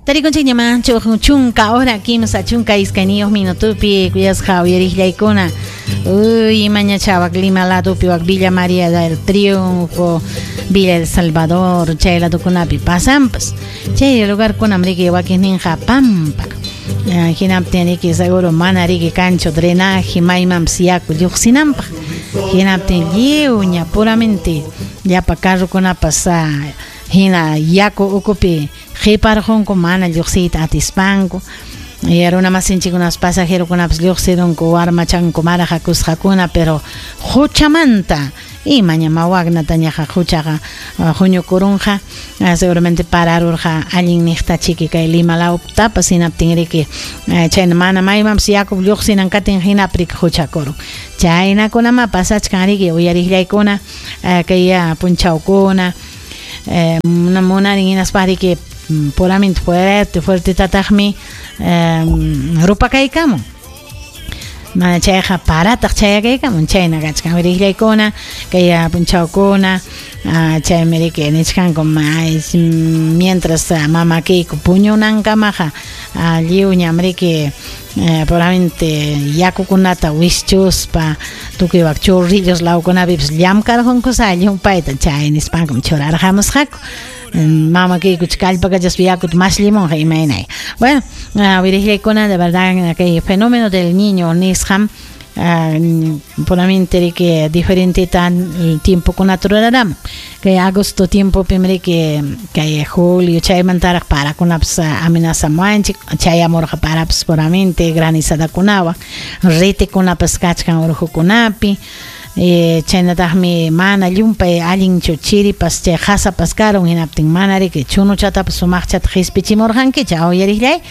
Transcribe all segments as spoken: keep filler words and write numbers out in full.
Tarikunchikña chunka hora kimsa chunka iskayniyuq minutupi kuyasqa uyariqllaykuna. Uy, imañacha wak Lima ladopi wak Villa María del Triunfo, Villa El Salvador, chay ladokunapi pasanpas. Chay lugarkunam riki wakinninqa pampa. Hinaptin riki seguro mana riki kanchu drenaje maymanpas yaku lluqsinanpaq. Hinaptin lliwña puramente llapa carrokunapas hina yaku ukupi qiparqunku mana lluqsiyta atispanku. Y runa masinchikunapas pasajerokunapas lluqsirunku warmachanku marajakusqakuna, pero huchamanta imaña mawagnatañaqa huchaqa huñukurunqa, seguramente pararurqa allin niqta chiki kay Lima lawtapas hinaptin riki chayna mana maymanpas yaku lluqsinan katin hinapi huchakurun. Chaynakunama pasachkan riki uyariqllaykuna kay punchawkuna munarin hinaspa riki puramente fuerte fuertetataqmi rupakaykamun. Mana chayqa parataq chayakaykamun chayna kachkan uyariqllaykuna kay punchawkuna chaymi riki nichkanku mientras mamakiyku puñunankamaqa lliwñam riki puramente yakukunata wischuspa tukuy wak chorrillos lawkunapipas llamkarqunkusa llumpayta chay nispankum churarqamusqaku. Mamakiyku kallpakachaspa yakuta masllimunqa imaynay. Bueno, uyariqllaykuna, de verdad kay fenómeno del niño nisqam puramente riki diferenteta tiempokunata ruraramun. Kay agosto tiempopim riki kay julio chaymantaraq parakunapas amenazamuwanchik chayamurqa parapas puramente granizadakunawan ritikunapas kachkan urqukunapi. Chaynataqmi mana llumpay allinchu chiripas chay qasapas karun hinaptin mana riki chunuchatapas sumaqchata qispichimurqankicha uyariqllay.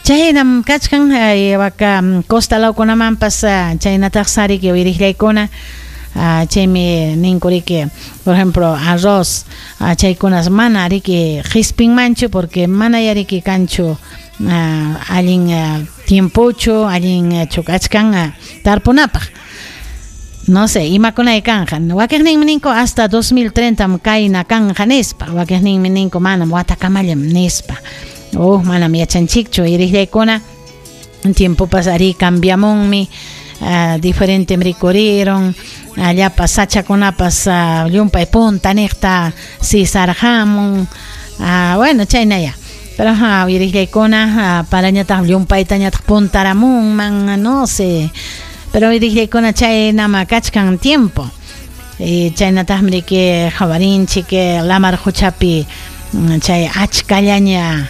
Chaynam kachkan waka costa lawkunamanpas chaynataq sariki uyariqllaykuna. Chaymi ninku riki por ejemplo arroz chaykunas mana riki qispinmanchu porque mana ya riki kanchu allin tiempochu allin kachkan tarpunapaq. No sé, imakunay kanja. Wakiqninmi ninku hasta dos mil treinta kayna kanja nispa. Wakiqninmi ninku manam watakamallam nispa. Oh, manam yachanchikchu uyariqllaykuna. Tiempopas ari cambiamunmi, uh, diferente rikuriron, llapa sachakunapas uh, llumpay punta niqta sisarqamun. Uh, bueno, chaynaya. Pero uh, uyariqllaykuna uh, parañataq llumpaytañataq puntaramunman, no sé. Pero uyariqllaykuna chaynama kachkan tiempo. Y chaynataqmi riki qhawarinchik lamar quchapi chay achkallaña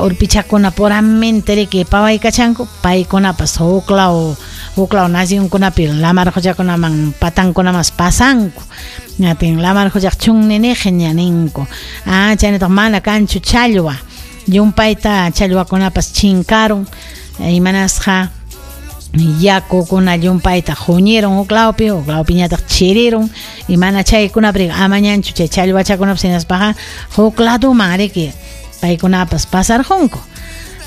urpichakuna puramente riki pawaykachanku paykunapas huklaw huklaw nacionkunapi lamar quchakunaman patankunamas pasanku. Ñatin lamar quchaq chunniniqña ninku. Ah, chaynataq mana kanchu challwa. Llumpayta challwakunapas chinkarun. Imanasqa yakukuna llumpayta huñirun huklawpi, huklawpiñataq chirirun y mana chaykunapi amañanchu chay challwachakunapas hinaspaqa huk laduman riki paykunapas pasarqunku.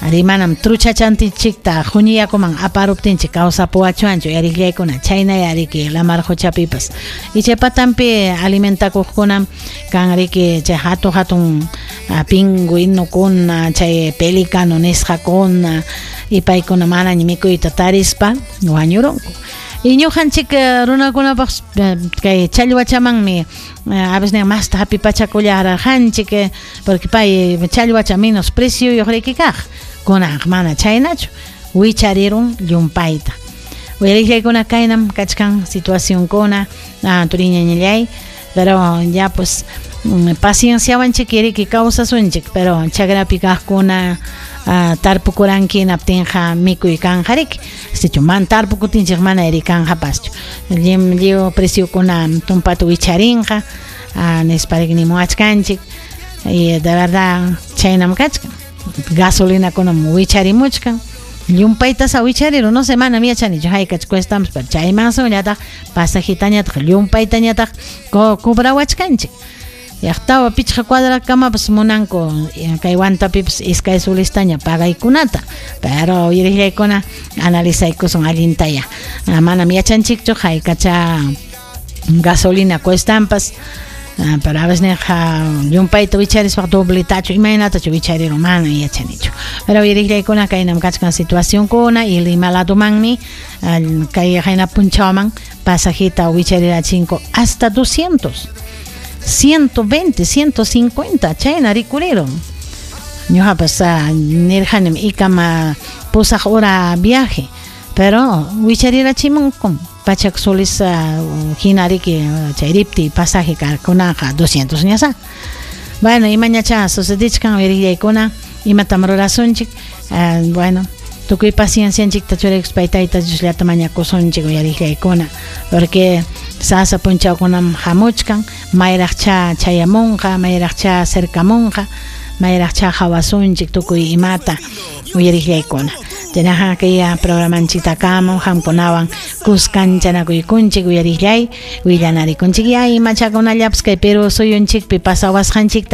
Ari manam truchachantinchikta huñi yakuman aparuptinchik kawsapuwachuanchu uyariqllaykuna chaynaya riki lamar quchapipas. Y chay patanpi alimentakuqkunam kan riki chay hatun hatun pingüinukuna chay pelicano nisqakuna y paykuna manaña mikuyta tarispa wañurunku. Y ñuqanchik runakunapaq kay challwachamanmi a veces masta hapipachakullarqanchik porque pay challwacha menos precioyuq riki kaq. Kunanqa mana chaynachu wicharirun llumpayta. Uyariqllaykuna kaynam kachkan situacionkuna turiñañallay, pero ya pues pacienciawanchik riki kawsasunchik, pero chakrapi kaqkuna tarpukuranki hinaptinqa mikuy kanja riki. Sichu mana tarpukutinchik mana ri kanjapaschu. Lliw preciokuna tumpata wicharinqa nispa riki nimuwachkanchik. Y de verdad chaynam kachkan. Gasolinakunam wicharimuchkan. Llumpaytasa wichariru, no sé, manam yachanichu haykach cuestamas, pero chaymansunllataq pasajitañataq llumpaytañataq cobrawachkanchik. Yaq tawa pichqa cuadrakamapas munanku kay Huantapipas iskay sulistaña pagaykunata, pero uyariqllaykuna analizaykusun allintaya. Manam yachanchikchu haykacha gasolina cuestampas. Pero a veces nirqa llumpayta wicharispa dobletachu imaynatachu wicharirun mana yachanichu. Pero uyariqllaykuna kaynam kachkan situacionkuna y Lima ladomanmi kay qayna punchawman pasajita wicharirachinku hasta doscientos, ciento veinte, ciento cincuenta chayna rikurirun. Ñuqapas nirqanim ikama pusaq hora viaje, pero wicharirachimunkum pachak soles hina riki chayripti pasaje kunaqa doscientos ñasa. Bueno, imañacha sucedichkan, uyariqllaykuna, imatam rurasunchik? Bueno, tukuy paciencianchikta churaykuspay Tayta Diosllata mañakusunchik, uyariqllaykuna, porque sasa punchawkunam hamuchkan, mayraqcha chayamunqa, mayraqcha cercamunqa, mayraqcha hawasunchik tukuy imata, uyariqllaykuna. Chaynaqa kay programanchiktakama qamkunawan kuskanchanakuykunchik, uyariqllay, willanarikunchik ya imachakunallapas kay Perú suyunchikpi pasawasqanchikta.